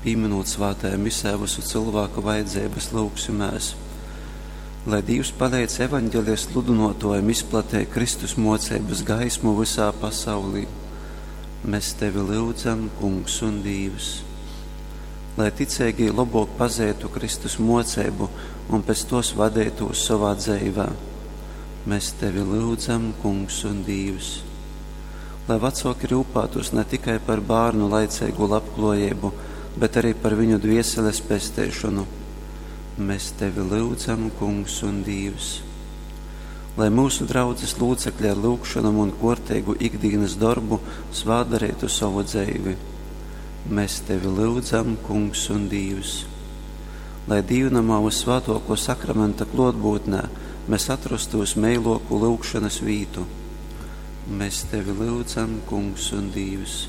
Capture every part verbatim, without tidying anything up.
Pīminūt svētajā misē visu cilvēku vajadzības, lūgsimēs, lai Dīvs paleidz evaņģelija sludynōtōjam izplateit Kristus mōceibas gaismu vysā pasaulī. Mēs tevi lyudzam, Kungs un Dīvs. Lai ticeigī lobōk pazeitu Kristus mōceibu un pēc tos vadeitūs sovā dzeivē. Mēs tevi lyudzam, Kungs un Dīvs. Lai vecōki rūpētos ne tikai par bērnu laicīgu labklājību, bet arī par viņu dvieseles pesteišanu. Mēs tevi lyudzam, Kungs un Dīvs. Lai mūsu draudzes locekļi ar lūgšanām un kortīgu ikdienas darbu svādarītu savu dzeivi. Mēs tevi lyudzam, Kungs un Dīvs. Lai dīvnamā uz svētoko sakramenta klotbūtnē mēs atrastu uz meiloku lūgšanas vītu. Mēs tevi lyudzam, Kungs un Dīvs.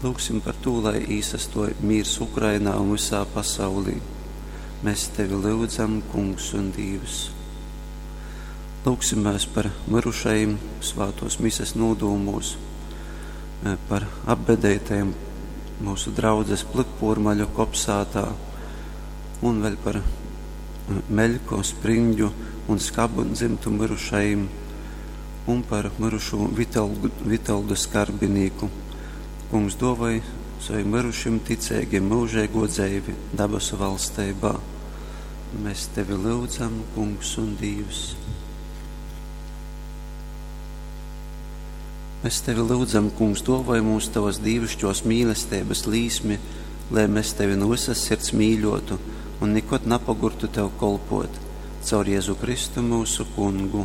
Lūgsim par to, lai īsastoj mīrs Ukrainā un visā pasaulī. Mēs tevi lyudzam, Kungs un Dīvs. Lūgsimies par mirušajiem svētos mises nodūmos, par apbedētajiem mūsu draudzes plikpūrmaļu kopsātā un vēl par Meļko, Spriņģu un Skabu dzimtu mirušajiem un par mirušo Vitoldu, Vitoldu Skarbinīku. Kungs dovai saviem mirušiem ticīgiem mūžīgo dzeivi dabasu valstībā. Mēs tevi lūdzam, Kungs un Dīvs. Mēs tevi lūdzam, Kungs, dovai mums tavas dīvišķos mīlestības līsmi, lai mēs tevi no visas sirds mīļotu un nekad napagurtu tev kolpot. Caur Jēzu Kristu mūsu Kungu.